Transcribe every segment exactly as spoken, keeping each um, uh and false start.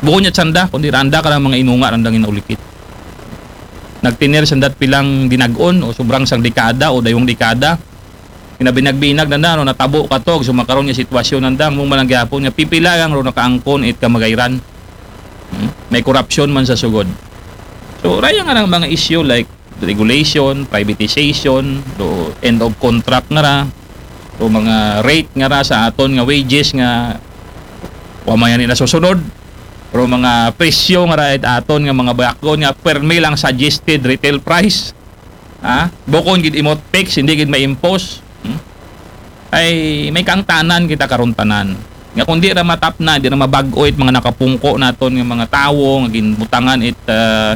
Bukon niya sanda, kundi randa karang mga inunga randang inaulikid. Nagtener sanda't pilang dinag-on o sobrang sang dekada o daywang dekada. Kinabinag-binag na na, no, natabo kato, so makaron nga sitwasyon nanda, mong malang gihapon nga pipila lang ro nakaangkon it kamagayran. Hmm? May korupsyon man sa sugod. So, raya nga lang mga issue like regulation, privatization, do end of contract nga ra, do mga rate nga ra sa aton nga wages nga wa man yan nasusunod, pero mga presyo nga ra it aton nga mga bakgon nga permi lang suggested retail price. Ha? Bukon gid imot fix, hindi gid ma-impose. Hmm? Ay, may kaangtanan kita karon tanan. Nga kung di ra matapna, di ra mabag-o it mga nakapungko naton nga mga tawo nga ginbutangan it ah,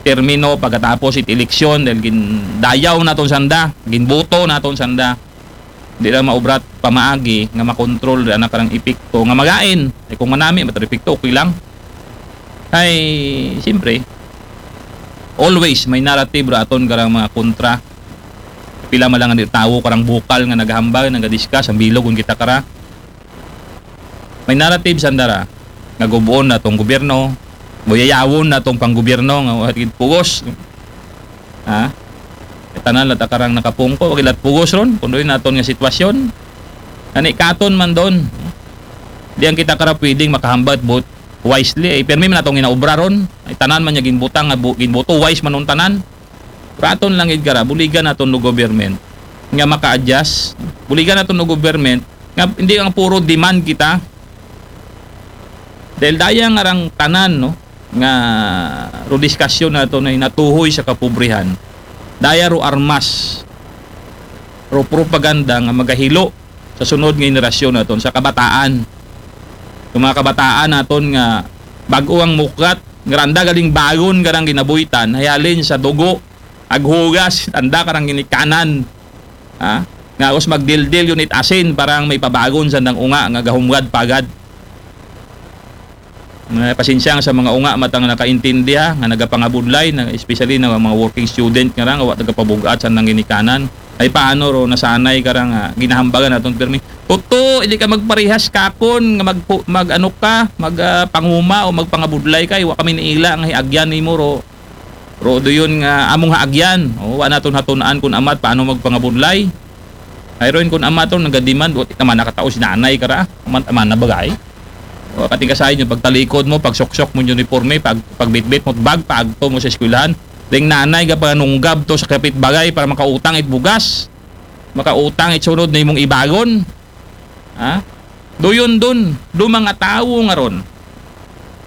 termino pagkatapos it eleksyon dahil gindayaw naton sanda, ginboto naton sanda. Di ra maubrat pamaagi nga makontrol ra na karang epekto nga magain. Ay kung manami, matar epekto, okay lang. Ay, siyempre, always may narrative ra aton karang mga kontra. Pila man lang ang tawo karang bukal nga naghambal, nagadiscuss, ang bilog kung kita kara. May narrative sanda ra nga gubuon na tong gobyerno, buyayawon na tong panggobyerno nga wa gid pugos. Ha? Tanan la ta karang nakapungko, wa gid lat pugos ron, kung doon naton nga sitwasyon. Ani katon man doon. Di ang kita kara pwedeng makahambal vote wisely. Ay, permi man atong ginaobra ron. Ay, tanan man niya ginbutang nga bu- ginboto, wise man nung tanan. Raton lang gid kara, buligan naton no government nga maka-adjust. Buligan naton no government nga hindi ang puro demand kita. Dahil daya nga rang tanan, no, nga ro diskasyon nato na natuhoy sa kapobrihan. Daya ro armas, ro propaganda nga magahilo sa sunod nga henerasyon naton, sa kabataan. Yung mga kabataan naton nga bag-o ang muklat, nga randa galing bagon karang ginabuhitan, hayalin sa dugo, aghugas, anda karang ginikanan. Ha? Nga us magdildil yun it asin, parang may pabagon sa nang unga, nga gahumgad pagad. Nga pasensya sa mga unga matang nakaintindi ha, nga nagapangabudlay, na, especially na mga working student nga rang, wa tagapabugat sa nang ginikanan. Ay paano ro nasanay ka rang ah, ginahambagan naton permi? Tuto, hindi ka magparehas kakon nga mag, mag ano ka, mag ah, panguma o magpangabudlay ka, wa kami niila nga hiagyan nimo ro. Ro do yun nga among haagyan. O, wa naton hatunaan kun amat paano magpangabudlay. Ay ron kun amat ron nagademand, wa ti naman nakatao si nanay ka ra. Aman, aman na bagay. O, kating kasahin yung pagtalikod mo, pagsuksok mo yung uniforme, pag, pagbitbit mo, bag, paagto mo sa eskwelahan. Ding nanay ka panunggab to sa kapitbagay para makautang it bugas. Makautang it sunod na imong ibagon. Ha? Doon dun, do mga tawo nga ron.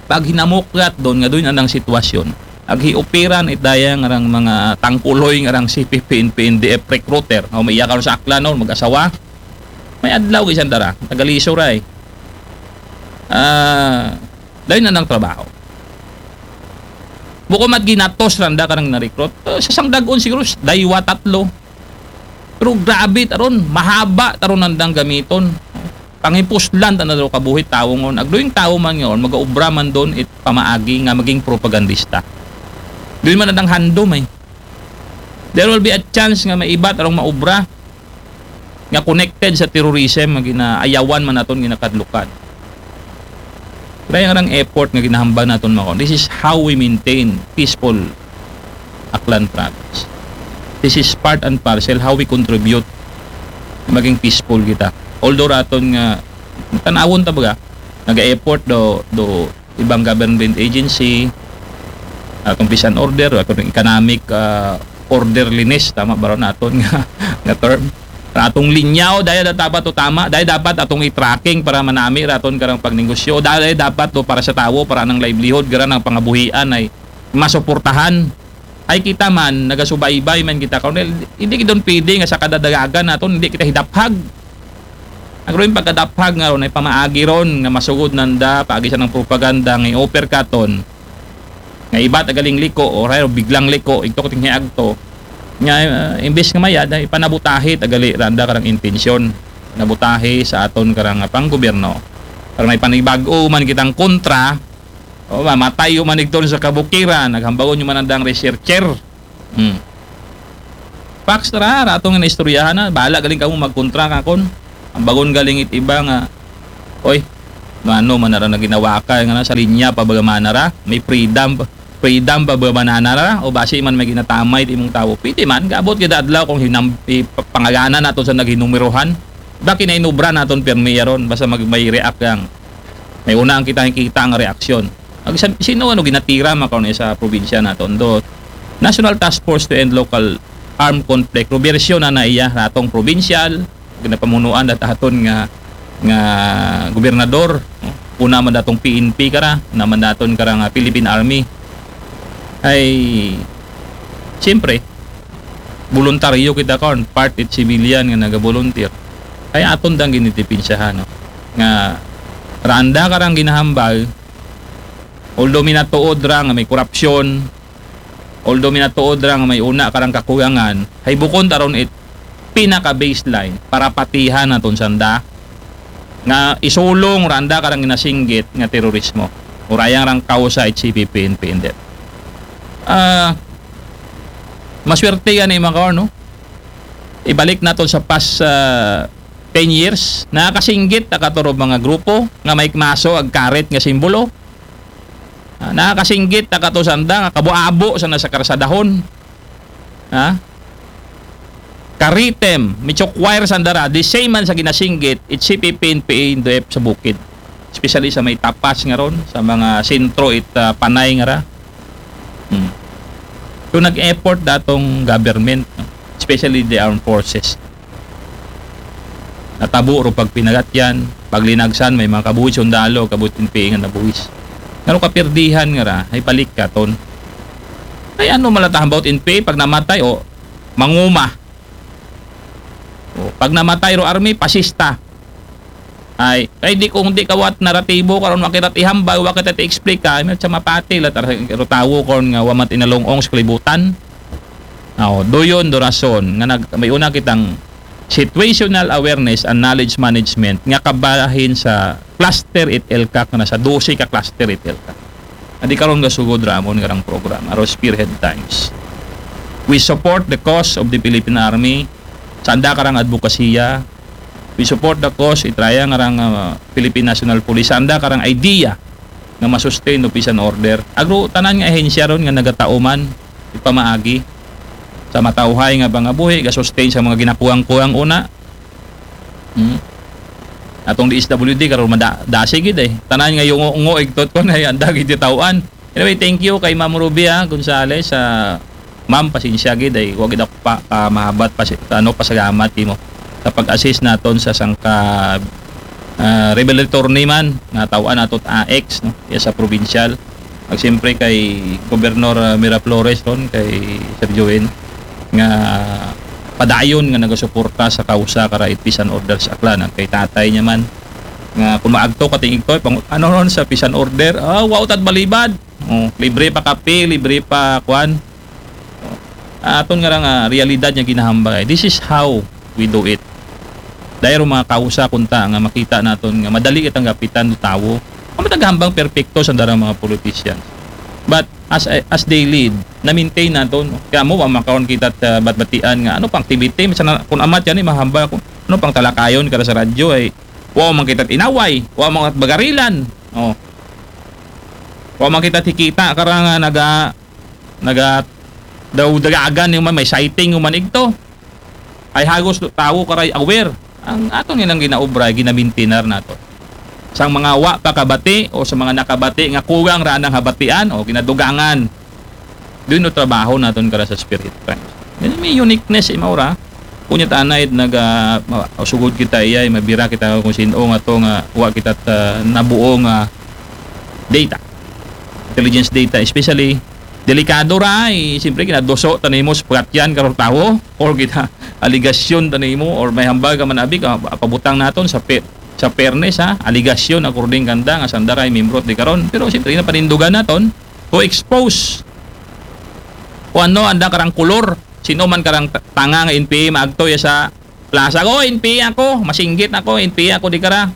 Pag hinamuklat doon nga doon anang sitwasyon. Ag hiupiran it daya nga rang mga tangkuloy nga rang C P P, N P, N D F recruiter. O, may iya karon sa Aklan, no, mag-asawa. May adlaw isang dara, tagaliso ra eh. Ah, dahil na ng trabaho. Buko mat ginatos randa karang na-recruit. Eh, sa sangdagon siguro, daywa, tatlo. Pero grabe taron, mahaba taron nandang gamiton. Pangipuslan ta na daw kabuhi tawo ngon. Agdo yung tawo man ngon, magaobra man doon it pamaagi nga maging propagandista. Doon man nandang handom eh. There will be a chance nga maibat arong maobra nga connected sa terrorism nga ginaayawan man naton ginakadlukan. Kaya nga rang effort nga ginahambal naton mako. This is how we maintain peaceful Aklan province. This is part and parcel how we contribute maging peaceful kita. Although raton nga tanawon ta baga, nag-effort do do ibang government agency, atong peace and order, atong economic ah, orderliness, tama ba ron aton nga, nga term? Atong linyaw, daya da dapat to tama, daya dapat atong i-tracking para manami raton karang pagnegosyo, daya dapat to para sa tawo, para ng livelihood, gara ng pangabuhian ay masuportahan. Ay kita man, nagasubaybay man kita karon, hindi kita pwede nga sa kadadagagan naton, hindi kita hidaphag. Ang ron pagkadaphag nga ron ay pamaagi ron nga masugod nanda, paagi sa ng propaganda nga i-offer katon. Nga iba tagaling liko, o rayo biglang liko, ito ko tinghi agto. Nga uh, imbes nga mayad, ay panabutahi tagali randa karang intensyon. Nabutahi sa aton karang panggobyerno. Pero may panibago man kitang kontra, o mamatay yung manigton sa kabukiran, naghambagon yung manandang researcher. Hmm. Facts ra, ra atong nga naistoryahan na. Bahala galing kamo magkontra kakon. Ang bagon galing it iba nga, oy, Ano man ara nga ginawa ka, nga sa linya pa ba man ara, may freedom, freedom pa ba man ara, o basi man may ginatamay ti imong tawo. Pwede man, gaabot kada adlaw kung hinam, ipangagana naton sa naghinumerohan. Baki na inubra naton pirmi yaron, basta mag, may react lang. May una ang kita, kita ang reaksyon. Ang sa, sino ano ginatira makaon sa probinsya naton do National Task Force to End Local Armed Conflict. Rubersyon na na iya natong probinsyal, ginapamunuan dat aton nga nga gobernador, no? Una man datong P N P kara, una man daton kara nga Philippine Army. Ay, siyempre, voluntaryo kita karon, part it civilian nga naga-volunteer. Ay aton dang ginidipensyahan, no? Nga randa karang ginahambal, although minatuod ra nga may korupsyon, although minatuod ra nga may una karang kakuyangan, hay bukon taron it pinaka-baseline para patihan naton sanda nga isulong randa karang ginasinggit nga terorismo. Urayang rang kausa it C P P N P N D F. Ah, maswerte yan, eh, mga kaon, no? Ibalik naton sa past, ah, ten years, nakakasinggit ta kato ro mga grupo nga may maso ag karet nga simbolo. Ah, nakakasinggit ta kato sanda nga kabo-abo sa nasa karsadahon. Ha? Karitem, mitsukwire sanda ra, the same man sa ginasinggit, it C P P N P N D F sa bukid. Especially sa may tapas nga ron, sa mga sentro it, ah, panay nga ra. Hmm. So nag-effort datong government, no? Especially the armed forces. Natabo ro pagpinagatyan, paglinagsan, may mga kabuhi sundalo, kabuhi N P A nga nabuhis. Ngano kapirdihan nga ra, ay balik katon. Ay ano malatahan about N P A, pag namatay, o manguma. O, pag namatay ro army, pasista. Ay, kay di kung di kawat naratibo karon wa kita ihambal, wa kita ti-explica, ay sa mapati la tar-, ro tawo kon nga wa man tinalong-ong sa kalibutan. Aw, duyon do rason nga nag, may una kitang situational awareness and knowledge management nga kabahin sa cluster it ELCAC nga nasa dose ka cluster it ELCAC. Adi karon gasugod ramon nga rang programa, aro spearhead times. We support the cause of the Philippine Army. Sanda karang advokasya, we support the cause, itraya nga rang, ah, Philippine National Police. Sanda karang idea nga masustain o peace and order. Agro, tanan nga ahensya ron nga nagatauman, ipamaagi sa matauhay nga pangabuhi, gasustain sa mga ginakuwang-kuwang una. Hmm. Atong D S W D, karon mada-, dasi gid eh. Tanan nga yung ngo igtot ko na, anda gid taw-an. Anyway, thank you kay Ma'am Rubia Gonzales. Ah, Ma'am, pasensya gid ay wa gid ako pa, ah, mahabat pa, ano, pasalamat imo sa pag-assist naton sa sangka, ah, revelatory man nga taw-an nato A X, no, iya sa provincial. Ag siyempre kay Gobernador, ah, Miraflores ron, kay Sir Joel, nga padayon nga nagasuporta sa kausa kara it peace and order sa Aklan. Kay tatay niya man, nga kung maagto kating igtoy, pang, ano ron sa peace and order, ah, wow, tad balibad. Oh, libre pa kape, libre pa kwan. Oh, aton nga ra nga realidad nga ginahambal. This is how we do it. Dahil mga kausa kunta nga makita naton nga madali kitang gapitan do tawo. Ang matagahambang perpekto sa darang mga politicians. But as as they lead, na-maintain naton. Kaya mo, wa makaon kita ta batbatian nga ano pang activity, minsan na, kung amat yan, eh, mahambal kung ano pang talakayon kada sa radyo ay wa man kita inaway, wa man kita bagarilan. Oh. Wa man kita tikita karang, ah, naga naga daw dagagan yung man, may sighting yung man igto. Ay hagos do tawo karay aware. Ang aton nilang ginaobra, ginamintinar nato. Sang mga wa pa kabati o sa mga nakabati nga kugang ra nang habatian o ginadugangan. Doon no trabaho naton kara sa Spirit Times. Yan may uniqueness, imaw ra. Kunya ta anay naga, ma-, sugod kita iyay, mabira kita kung sino nga to nga wa kita ta nabuo nga data. Intelligence data, especially delikado ra, eh, siyempre, kinaduso ta nimo sa pagkatyan karong tawo, or kita aligasyon ta nimo, or may hambal ka man abi, ka, pabutang naton sa pe-, sa fairness, ha, aligasyon according kanda nga sanda ray membro di karon. Pero siyempre, napanindugan naton to expose kung ano anda karang kulor, sino man karang ta-, tanga nga N P A maagto ya sa plaza, "Oh, N P A ako, masinggit ako, N P A ako di kara."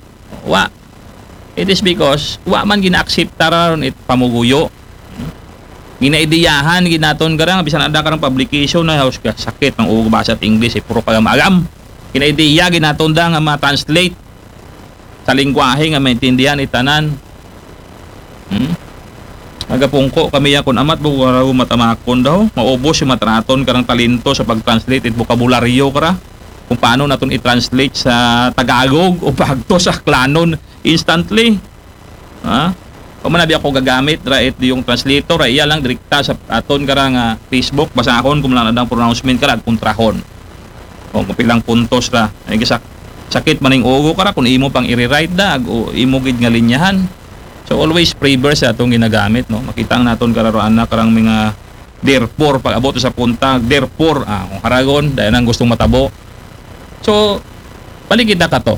Wa. It is because wa man gina-accept ta ron it pamuguyo. Ginaidiyahan ginaton kara nga bisan ada karang publication na haus ka sakit ng ulo basa at English, eh, puro pagamaram. Ginaidiya ginaton da nga ma-translate. sa lengguwahe nga maintindihan it tanan. Hmm? Nagapungko kami ya kun amat, bukaraw matamakon daw. Maubos yung matraton karang talento sa pag-translate it bokabularyo kara. Kung paano naton i-translate sa Tagalog o pagto sa Aklanon instantly. Ha? O manabi ako gagamit ra it yung translator, ra iya lang direkta sa aton kara nga Facebook, basahon kung lang adang pronouncement kara, kontrahon. O kung pilang puntos ra. Ay, gisak-, sakit man ning ulo kara kung imo pang i-rewrite da, o imo gid nga linyahan. So, always preverb sa atong ginagamit, no? Makita ang naton kararoan na karang mga therefore, pag abot sa punta, therefore, ah, kung haragon, dahil nang gustong matabo. So, balik kita ka to.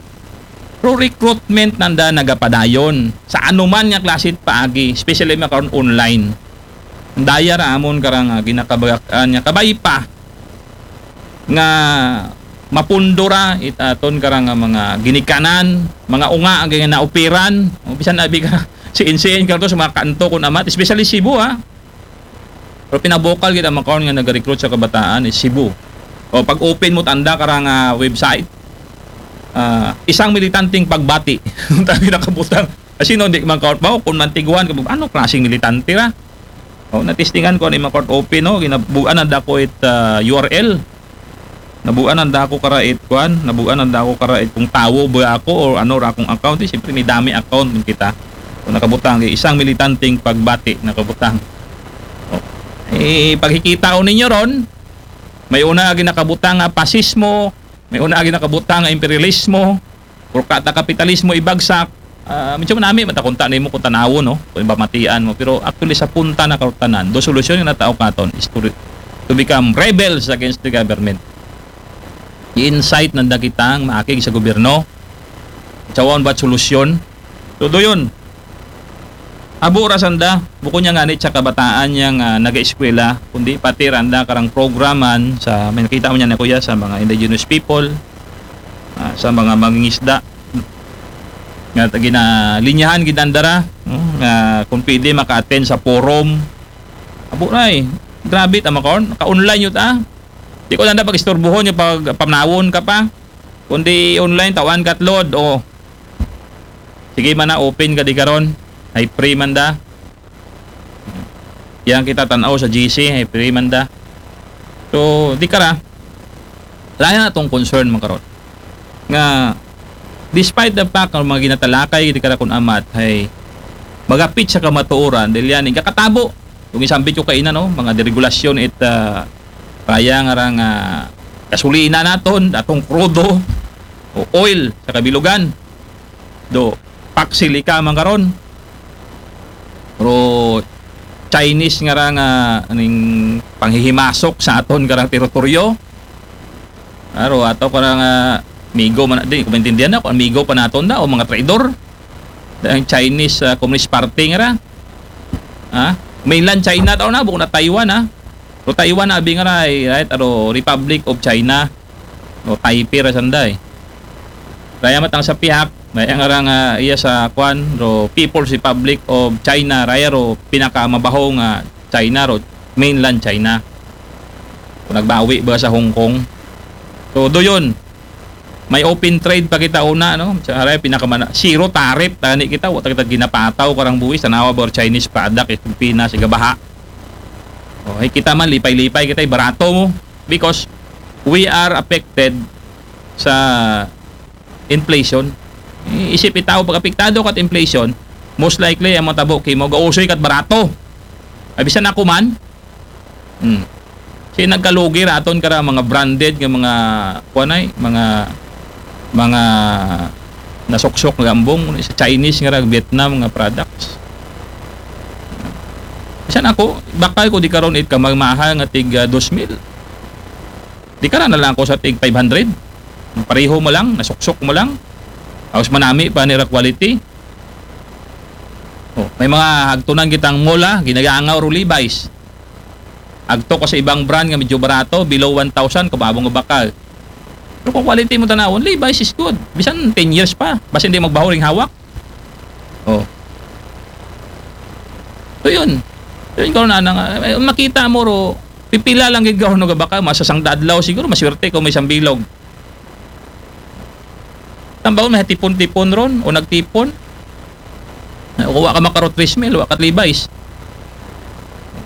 Pro recruitment nanda nagapadayon sa anuman nga klase paagi, especially makaron online. Daya ra amon karang, ah, ginakabag-an nga kabay pa nga mapundo ra it aton karang, ah, mga ginikanan, mga unga ang nga naoperan, o bisan abi ka siin-siin ka to sa mga kanto kun amat, especially Cebu, ha. Pero pinabokal gid ang makaon nga nag-recruit sa kabataan is Cebu. O pag-open mo tanda karang, ah, website, ah, isang militanteng pagbati. Ang tabi nakabutang. Kasi no, di man kaon ba? Kung mantiguan ka, ano klaseng militante ra? O, natistingan ko ni Makort Open, no? Ginabuan ang dako it, ah, U R L. Nabuan ang dako kara it, kuan? Nabuan ang dako kara it kung tawo ba ako or ano ra akong account. Eh, siyempre, may dami account man kita. Kung nakabutang, eh, isang militanteng pagbati, nakabutang. O. Eh, paghikita o ninyo ron, may una agi nakabutang nga pasismo, may una agi nakabutang nga imperialismo, Purka ta kapitalismo ibagsak, ah, medyo manami man ta kung ta-, nimo kung tanawon, no? Kung pamatian mo. Pero actually, sa punta na karutanan, do solusyon nga natao katon is to, to become rebels against the government. I-incite nanda kitang maakig sa gobyerno. Sa waon ba't solusyon? So, do yun. Abo ra sanda, bukod niya nga ni sa kabataan niya nga nag-eskwela, kundi pati randa karang programan sa, may nakita mo niya na kuya, sa mga indigenous people, ah, sa mga mangingisda. Nga ginalinyahan gid nanda ra, no? Nga kung pwede maka-attend sa forum. Abo na eh. Grabe, tama karon. Naka-online yun, ah. Di ko nanda pag-istorbohon yung pag pamanawon ka pa. Kundi online, tawan ka at load, o. Sige man na, open ka di karon. Ay free man da. Yang kita tanaw sa G C, ay free man da. So, di kara. Lain na atong concern man karon. Nga, despite the fact nga mga ginatalakay, di kara kun amat, ay magapit sa kamatuoran, dahil yan, yung kakatabo. Kung isambit ko kaina, no, mga deregulasyon it, ah, raya nga rang, ah, gasolina naton, atong krudo, o oil sa kabilugan. Do, paksilika man karon. Pero Chinese nga ra nga aning panghihimasok sa aton karang teritoryo. Aro, ato karang, ah, amigo man, di ko maintindihan na kung amigo pa naton da o mga traidor. Ang Chinese, ah, Communist Party nga ra. Ha? Mainland China tao na, bukod na Taiwan, ha? Pero Taiwan na, abi nga ra, eh, right? Aro, Republic of China. O Taipei ra sanda, eh. Raya matang sa pihak, raya nga ra nga iya sa kwan, ro People's Republic of China, raya ro pinakamabaho nga China, ro mainland China. Kung nagbawi ba sa Hong Kong. So, do yun. May open trade pa kita una, no? Sa raya pinakamana-, zero tariff, tani kita, wa ta kita ginapataw karang buwis, tanawa ba or Chinese product, eh, Pilipinas, sigabaha. O, ay kita man, lipay-lipay kita, eh, barato mo. Because we are affected sa inflation. Isip itaw, pag apektado kat inflation, most likely, ang matabo kimo, gausoy kat barato. Ay, bisan ako man. Hmm. Si nagkalugi ra aton kara mga branded nga mga, kuanay, mga, mga nasuksok nga ambong, sa Chinese nga ra, Vietnam nga products. Bisan ako, bakal ko di karon it kamahal nga tig, ah, dos mil. Di kara na lang ako sa tig five hundred. Pareho mo lang, nasuksok mo lang. Tapos manami pa nira quality. Oh, may mga hagtunan kitang mall, ah, ginagangaw ro Levi's. Agto ka sa ibang brand nga medyo barato, below one thousand, kababong nga bakal. Pero kung quality mo tanawon, Levi's is good. Bisan ten years pa, basta hindi magbaho ring hawak. Oh. So yun. Yun, karon na nga, eh, makita mo ro, pipila lang gid karon nga bakal, masasang adlaw siguro, maswerte kung may isang bilog. Tambawon, may tipon-tipon ron o nagtipon. Kung wa ka makaro three mil, wa ka Levi's.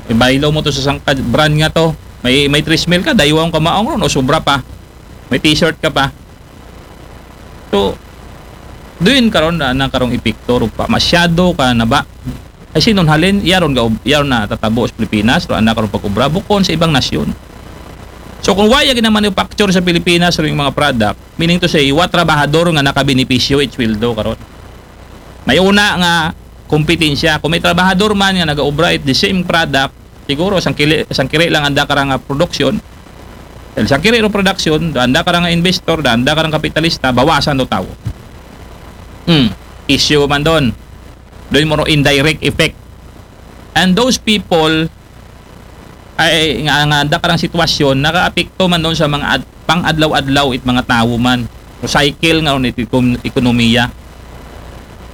Ibaylo mo to sa sangka brand nga to. May, may three mil ka, daywang ka maong ron o sobra pa. May t-shirt ka pa. So, doon karon na, na karong epekto, ro pa. Masyado ka na ba? Ay, sinunhalin, yaron, ga, yaron na tatabo sa Pilipinas, ro ana karon pag-ubra, bukon sa ibang nasyon. So, kung waya ginamanufacture sa Pilipinas, ro yung mga product, meaning to say, wa trabahador nga nakabenepisyo, it sweldo karon. May una nga kompetensya. Kung may trabahador man nga nagaobra it the same product, siguro sang kili, sang kiri lang anda karang production. Dahil sang kiri ro production, anda karang investor, anda karang kapitalista, bawasan do tawo. Hmm, issue man doon. Doon mo ro indirect effect. And those people ay nga, nga anda karang sitwasyon nakaapekto man doon sa mga ad, pang-adlaw-adlaw it mga tawo man. So, cycle nga ron it ekon-, ekonomiya.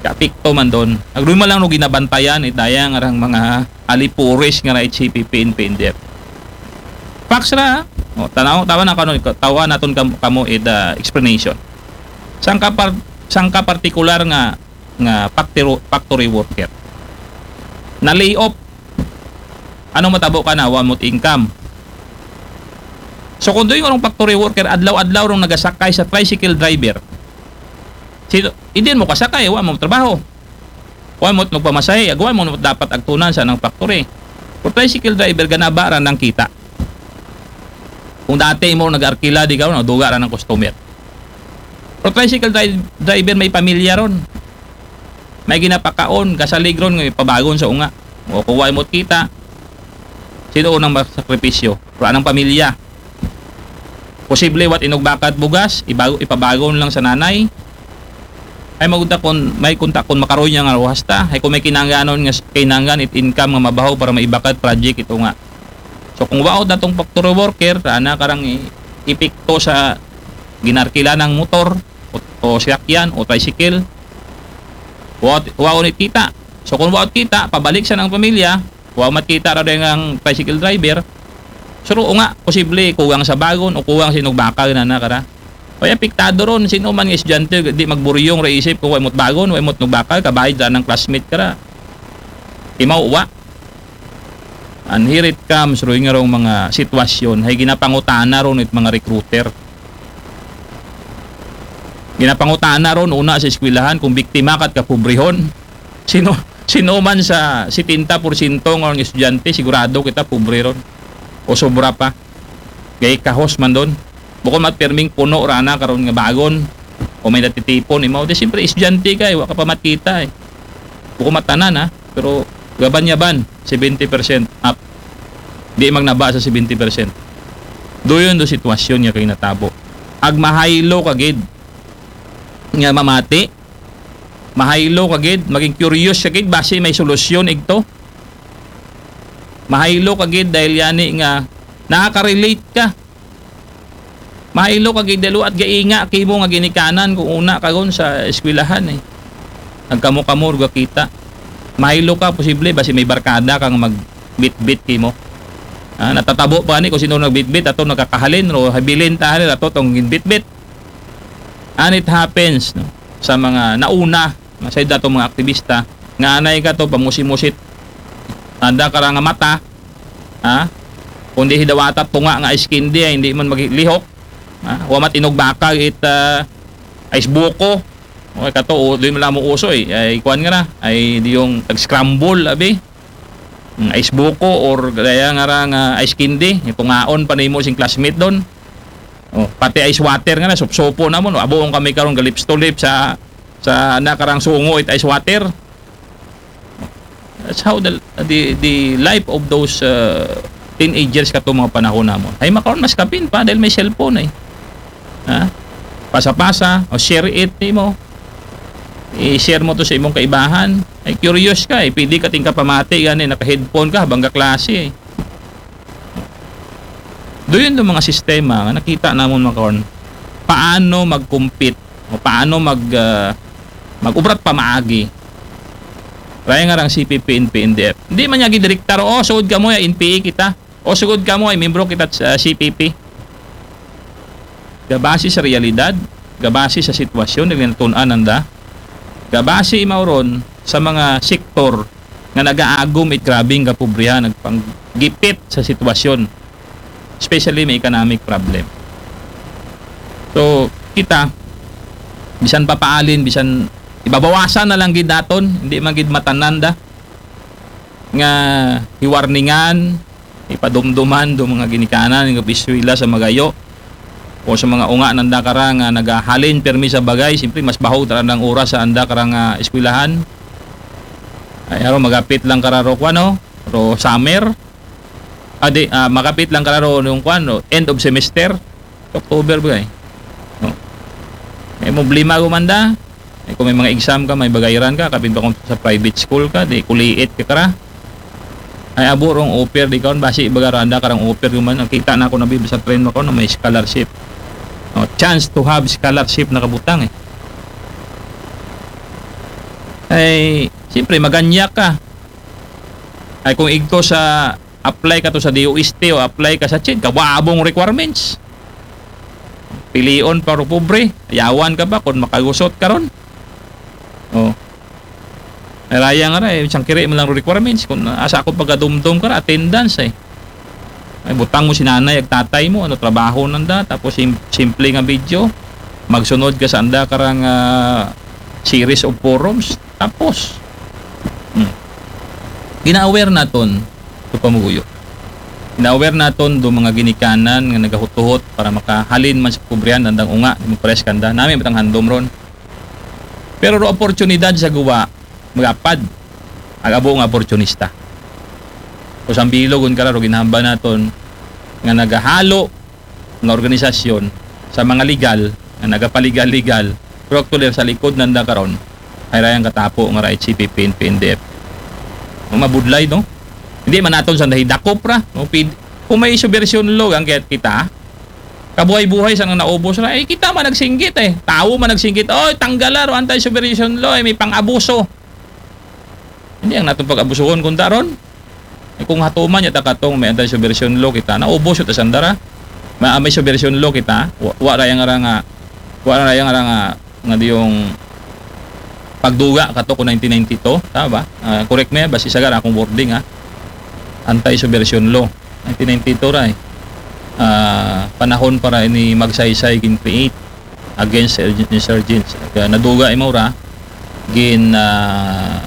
Kaapekto man doon. Nagduman lang no ginabantayan it daya nga rang mga alipuris nga ra it C P P, N P, N D F. Facts ra. O, tanaw, tawa na kano, tawa naton kam, kamo it, ah, explanation. Sangka par, sangka partikular nga, nga factory, factory worker. Na lay off. Ano matabo ka na? Wa mo't income. So, kung doon yung factory worker, adlaw-adlaw rong nagasakay sa tricycle driver. Sino, idin mo kasakay, wa mo trabaho. Wa mo't magpamasahe, agwa mo dapat agtunan sa nang factory. Kung tricycle driver, ganaba ra nang kita. Kung dati mo nag-arkila, di ka, nagduga ra ng customer. Pero tricycle dri-, driver, may pamilya ron. May ginapakaon, kasalig ron, nga ipabagon sa unga. O kung wa mo't kita, sino unang masakripisyo? Pero anang pamilya? Posible, wat inugbaka it bugas, ibago, ipabagon lang sa nanay. Ay, magkunta kun, may kunta kun makaroy niya nga ruhas ta. Ay, kung may kinangganon nga s-, kinanggan it income nga mabaho para maibaka it project ito nga. So, kung waot datong factory worker, ana karang i-, epekto sa ginarkila ng motor o, o sasakyan o tricycle. Waot, waot it kita. So, kung waot kita, pabalik sa nang pamilya, wa ma't kita ra dahil ang tricycle driver. So, ro nga, posible, kuwang sa bagon o kuwang sinugbaka na na kara. Ay, apektado ron, sino man nga estudyante, di magburyong ra isip ko, wa mo't bagon, wa mo't nugbaka, kabayad ra ng classmate ka ra. Imaw, wa. And here it comes, ro nga rong mga sitwasyon, ay ginapangutana ron it mga recruiter. Ginapangutana ron, una sa eskwelahan, kung biktima ka't kapobrehon. Sino, sino man sa setenta porsyento nga mga estudyante, sigurado kita pobre ron. O sobra pa. Gay kahos man doon. Bukod mat perming puno ra na karon nga bagon. O may natitipon, imaw. Di siyempre, estudyante ka, eh. Wa ka pa matkita, eh. Bukod matanan, ha. Pero gaban-yaban, seventy percent up. Di magnaba sa seventy percent. Doon do sitwasyon nga kay natabo. Ag mahaylo ka gid nga mamati, mahaylo ka gid, maging curious ka gid, basi may solusyon igto. Mahaylo ka gid dahil yani nga nakaka-relate ka. Mahaylo ka gid dahil at gainga kimo nga ginikanan kung una ka gon sa eskwelahan, eh. Nagkamo-kamo, ruga kita. Mahaylo ka, posible, basi may barkada kang magbitbit kimo. Ah, natatabo pa ni kung sino nagbitbit, ato nakakahalin, ro habilin tahalin, ato tong bitbit. And it happens, no, sa mga nauna, sa dato mga aktivista, nga anay ka to, pamusi-musit, anda ka ra nga mata, ha? Kundi hidawata tunga nga ice candy, ay hindi man maglihok, ha? Wa mat inugbaka it, ah, ice buko. O, kato, o, di mo lang mo uso, eh. Ay, kuwan nga na, ay, di yung tag-scramble, abi. Mm, ice buko or kaya nga ra nga ice candy, itungaon pa nimo sing classmate doon. Oh, pati ice water nga na, supsupo na mo, no? Abuong kami karon ga lips to lips sa, sa nakarang sungo it ice water. That's how the, the, the life of those, uh, teenagers kato mga panahon namon. Ay, makaron mas kapin pa dahil may cellphone, eh. Ha? Pasa-pasa, o share it nimo. I-share mo to sa imong kaibahan. Ay, curious ka, eh. Pwede ka ting kapamati, gani, naka-headphone ka habang kaklase, eh. Doon yung mga sistema nga nakita namon makaron. Paano mag-compete o paano mag, ah, mag-ubrat pamaagi. Raya nga rang C P P, N P, N D F. Hindi man niya gidirektar, "Oh, sugod ka mo, N P A kita. O sugod ka mo, ay membro kita sa C P P." Gabase sa realidad, gabasi sa sitwasyon, dili natun-an nanda, gabasi mao ron sa mga sektor nga nagaagom it grabing kapobrehon, nagpanggipit sa sitwasyon, especially may economic problem. So, kita, bisan papaalin, bisan ibabawasan na lang gid naton, hindi man gid matanan da nga hiwarningan, ipadumduman do mga ginikanan nga eskwela sa magayo o sa mga unga nanda kara nga nagahalin permi sa bagay, siyempre mas bahog ta ra ang oras sa anda kara nga eskwelahan. Ay, aron magapit lang kara ro, kuan, no? Ro summer. Ah, di, ah, magapit lang kara ro yung, kuan, no? End of semester. October ba, eh? No? May problema ko man da. Eh, kung may mga exam ka, may bagayaran ka, kapin pa kung sa private school ka, di kuliit ka kara. Ay, abo rong offer di karon, basi baga ro anda karang offer ko man. Nakita na ako na bi-, sa trend ko na may scholarship. No, chance to have scholarship na kabutang, eh. Ay, siyempre, maganyak ka. Ay, kung igto sa apply ka to sa D O S T o apply ka sa chin, kawabong requirements. Pilion pa ro pobre, yawan ka ba kung makagusot ka ron? Oh. Ay, raya nga ra, eh, siyang kiri mo lang requirements. Kung asa ako pagkadumdum ka ra, attendance, eh. Ay, butang mo si nanay ag tatay mo, ano trabaho nanda, tapos sim-, simple nga video, magsunod ka sa anda karang, ah, series of forums, tapos, hmm. Gina-aware naton, to pamuguyo. Gina-aware naton do mga ginikanan nga nagahutuhot para makahalin man sa pobrehon andang unga, di mo pares kanda. Nami matang handom ron. Pero ro oportunidad sa guwa, magapad ag abo nga oportunista. O sa bilog, kun kara ro ginhamba naton nga nagahalo nga organisasyon sa mga legal, nga nagapaligal-legal, pero actually sa likod nanda karon, ay rayang katapo nga ra H C P P and P N D F. Ang mabudlay, no? Hindi man naton sa nahidakop ra, no? Pid-, kung may subversion law ang kaya kita, kabuhay-buhay sa nang naubos ra, eh, kita man nagsinggit, eh. Tawo man nagsinggit, "Oy, tanggala ro anti-subversion law, eh, may pang-abuso." Hindi ang natong pag-abusuhon kung daron. Eh, kung hatuman niya ta katong may anti-subversion law kita, naubos ta sandara. Ma-, may subversion law kita, wa, wa ra yang ara nga, wa ra yang ara nga, nga diyong pagduga kato ko nineteen ninety-two, tama ba? Ah, correct me, basi sagar akong wording, ha. Anti-subversion law. Nineteen ninety-two ra, eh. Ah, panahon para ini Magsaysay gin-create against insurg-, insurgents. Kaya naduga imaw ra, gin, ah,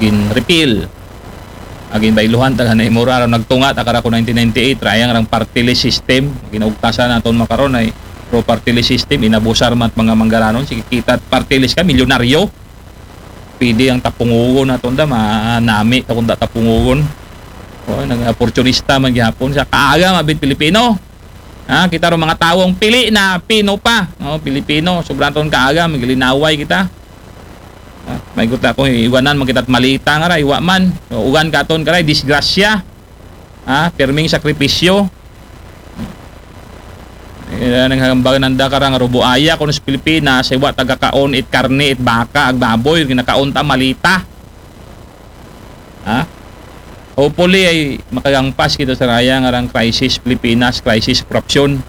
gin-repeal. Agin bailuhan ta kanay mura ron nagtunga ta kara ko nineteen ninety-eight, rayang rang party list system, ginaugtasan naton makaron ay pro party list system, inabusar mat mga manggaranon, sige kita party list ka, milyonaryo. Pwede ang tapungugon naton da, manami ta kung da tapungugon. O, nang oportunista man gihapon sa kaaga mabit Pilipino. Ha, kita ro mga tawong pili na Pino pa, no, Pilipino, sobrang ton kaaga, maglinaway kita. Ha, may guta ko, iwanan man kita't malita nga ra, iwa man. O, ugan katon karay, disgrasya. Ha, pirming sakripisyo. Eh, nang hambag nanda karang rubuaya kuno sa Pilipinas, iwa tagakaon it karne, it baka, ag baboy, ginakaon ta malita. Ha? Hopefully ay makagangpas kita sa raya nga rang crisis Pilipinas, crisis korupsyon.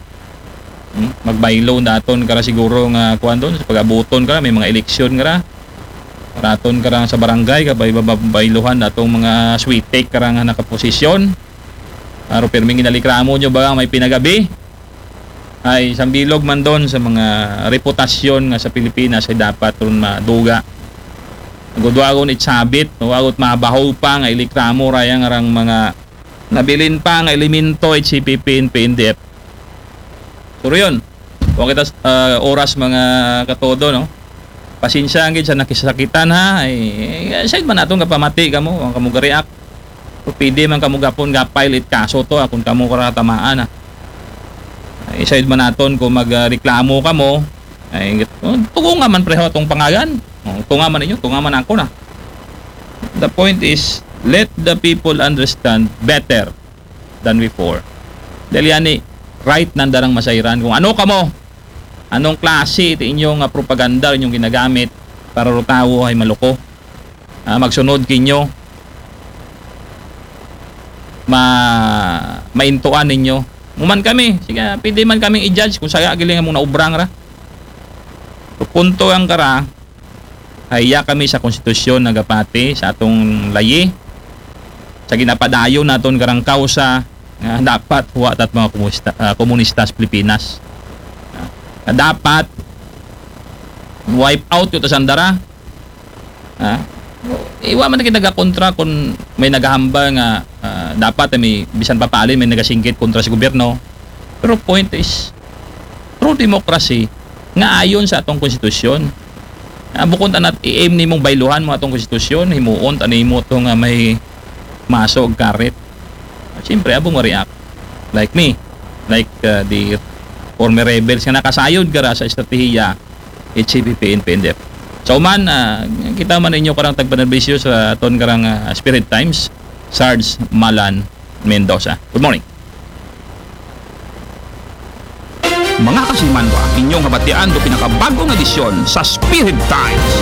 Hmm? Magbaylo daton kara siguro nga kuwan doon, sa pag-abuton kara, may mga eleksyon kara. Raton kara sa barangay, kabay babayluhan datong mga switik kara nga nakaposisyon. Aro pirming ginalikramo nyo ba may pinagabi? Ay, sambilog man doon sa mga reputasyon nga sa Pilipinas ay dapat ron maduga. Gudwagon it sabit, no? Agot mabaho pa nga ilikramo rayang arang mga nabilin pa nga elemento it C P P and P N D F. Pero yun, huwag kita, ah, oras mga katodo, no? Pasensya ang gid sa nakisakitan, ha? Ay, ay, side man naton kapamati kamo, ang kamo ga-react. Pero pwede man kamo gapon ga-file it kaso to, ha, kung kamo karatamaan, ha. Ay, side man naton kung magreklamo kamo, ay, tunga man preho atong pangagan. O, tunga man ninyo, tunga man ako na. The point is, let the people understand better than before. Dahil yan, eh, right nanda rang masayran. Kung ano kamo, anong klase iti inyong, ah, propaganda inyong ginagamit para ro tawo ay maluko. Ah, magsunod kinyo, ma-, maintuan ninyo. Muman kami, sige, pwede man kaming i-judge kung saya giling among naubrang ra. Punto ang kara, haya kami sa konstitusyon nagapati sa atong layi, sa ginapadayon naton karang kausa nga dapat huwa tat mga komunista, ah, komunista sa Pilipinas. Ah, nga dapat wipe out yung tasandara. Ah, iwa man kita nagakontra kung may nagahamba nga, ah, dapat ay may bisan papalin may nagasingkit kontra sa gobyerno. Pero point is, true democracy nga ayon sa atong konstitusyon. Ah, bukon tanat i-aim nimong bayluhan mo atong konstitusyon, himuon ta nimo to nga may maso og karit. Siyempre, abong ma-react. Like me, like, uh, the former rebels nga nakasayod kara sa estratehiya, H C P P N P N D F. So man, ah, kita man ninyo karang tagpanerbisyo sa aton karang, ah, Spirit Times, Sarge Malan Mendoza. Good morning. Mga kasimanwa, inyong habatian do pinakabagong edisyon sa Spirit Times.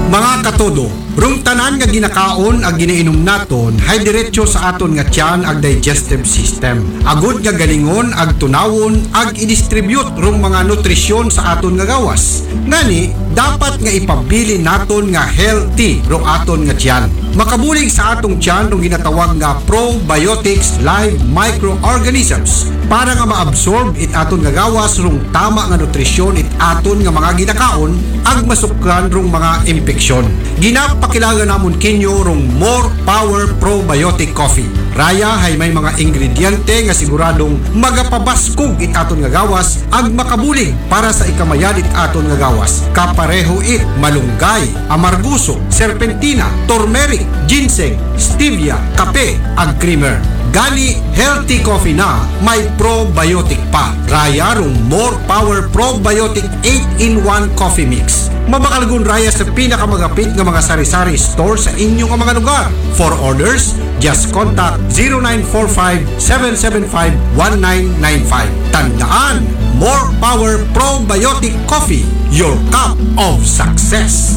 Mga katodo, rung tanan nga ginakaon ag ginainom naton, hay diretso sa aton nga tiyan ag digestive system. Agud nga galingon ag tunawon ag i-distribute rung mga nutrisyon sa aton nga gawas. Ngani, dapat nga ipabilin naton nga healthy rung aton nga tiyan. Makabulig sa atong tiyan rung ginatawag nga probiotics live microorganisms para nga ma-absorb it aton nga gawas rung tama nga nutrisyon it aton nga mga ginakaon ag masukran rung mga impeksyon. Ginapakilaga namon kinyo rung More Power Probiotic Coffee. Raya hay may mga ingrediente nga siguradong magapabaskog it aton nga gawas ag makabulig para sa ikamayad it aton nga gawas. Kapareho it malunggay, amarguso, serpentina, turmeric, ginseng, stevia, kape, ag creamer. Gani, healthy coffee na, may probiotic pa. Raya rung More Power Probiotic eight-in-one Coffee Mix. Mabakalgun raya sa pinakamagapit nga mga sari-sari store sa inyo nga mga lugar. For orders, just contact zero nine four five, seven seven five, one nine nine five. Tandaan, More Power Probiotic Coffee, your cup of success.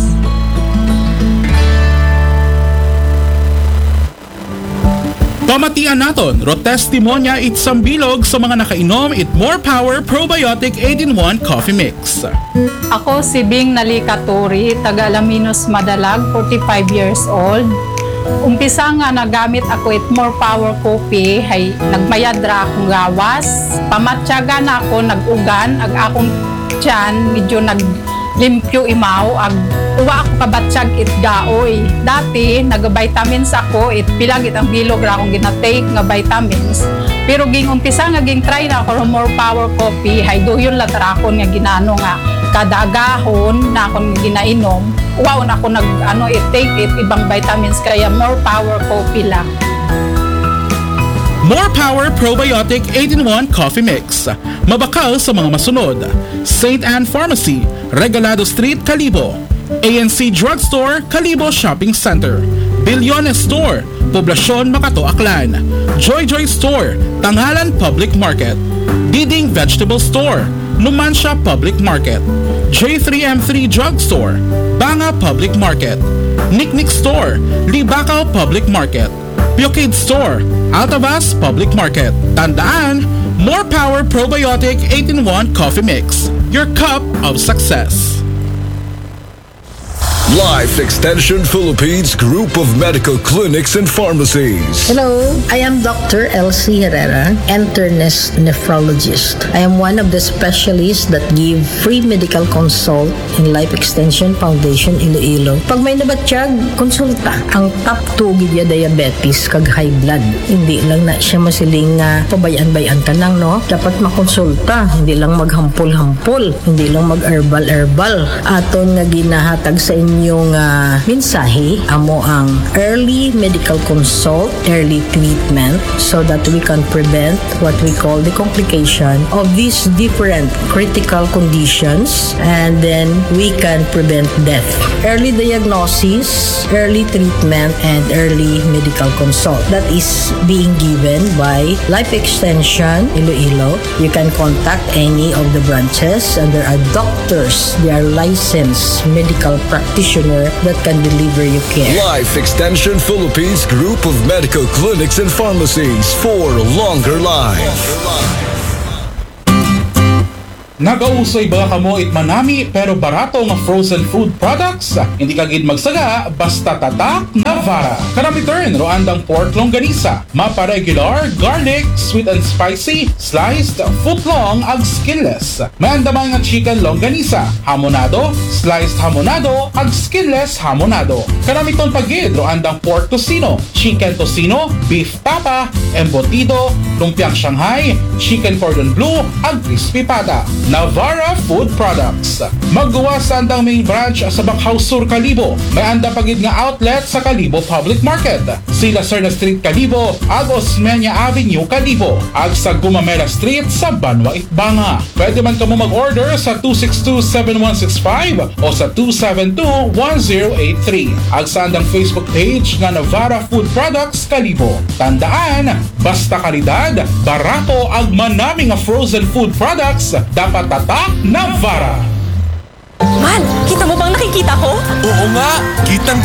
Pamatian naton, ro testimonya it sambilog sa mga nakainom it More Power Probiotic eight-in-one Coffee Mix. Ako si Bing Nalika Turi, taga Alaminos, Madalag, forty-five years old. Umpisa nga nagamit ako it More Power Coffee, hay nagmayad ra akong gawas. Pamatyagan na ako, nag-ugan, ag akong tiyan, medyo naglimpyo imaw, ag uwa ako kabatyag it gaoy. Dati, nag-vitamins ako, it pila gid ang bilog ra akong ginatake nga vitamins. Pero ging umpisa nga ging try na ako More Power Coffee, hay duyon la tara akon nga ginano nga kada agahon na akon ginainom. Wow, na ako nag, ano, it take it ibang vitamins kaya More Power Coffee lang. More Power Probiotic eight-in-one Coffee Mix. Mabakal sa mga masunod: Saint Anne Pharmacy, Regalado Street, Kalibo. A N C Drugstore, Kalibo Shopping Center. Bilyones Store, Poblacion, Makato, Aklan. Joy Joy Store, Tangalan Public Market. Diding Vegetable Store, Numancia Public Market. J three M three Drugstore, Banga Public Market. Niknik Store, Libacao Public Market. Pure Kid Store, Altavas Public Market. Tandaan, More Power Probiotic eight-in-one Coffee Mix, your cup of success. Life Extension Philippines Group of Medical Clinics and Pharmacies. Hello, I am Doctor Elsie Herrera, internist nephrologist. I am one of the specialists that give free medical consult in Life Extension Foundation Iloilo. Pag may nabatyag, konsulta. Ang top two gid ya diabetes kag high blood. Hindi lang na siya masiling nga pabay-an-bay-an ka lang, no? Dapat makonsulta, hindi lang maghampol-hampol, hindi lang mag-herbal-herbal. Aton nga ginahatag sa inyo nga mensahe, amo ang early medical consult, early treatment, so that we can prevent what we call the complication of these different critical conditions, and then we can prevent death. Early diagnosis, early treatment, and early medical consult. That is being given by Life Extension Iloilo. You can contact any of the branches, and there are doctors, they are licensed medical practitioner that can deliver you care. Life Extension Philippines Group of Medical Clinics and Pharmacies for longer life. Nagausoy ba kamo it manami pero barato nga frozen food products? Hindi ka gid magsaga basta tatak Navara. Kanami turn, ro andang pork longganisa, mapa regular, garlic, sweet and spicy, sliced, foot long, ag skinless. May anda man nga chicken longganisa, hamonado, sliced hamonado, ag skinless hamonado. Kanami turn pa gid, ro andang pork tocino, chicken tocino, beef tapa, embutido, lumpiang Shanghai, chicken cordon bleu, ag crispy pata. Navara Food Products. Magguwas sa andang main branch sa Bacau Sur, Kalibo. May anda pa gid nga outlet sa Kalibo Public Market. Sila Serna Street, Kalibo, ag Osmeña Avenue, Kalibo, ag sa Gumamela Street sa Banwa, Itbanga. Pwede man kamo mag-order sa two six two seven one six five o sa two seven two one zero eight three. Ag sa andang Facebook page nga Navara Food Products Kalibo. Tandaan, basta kalidad, barato, ag manami nga frozen food products, dapat tatak Navara. Man, kita mo bang nakikita ko? Oo nga, kitang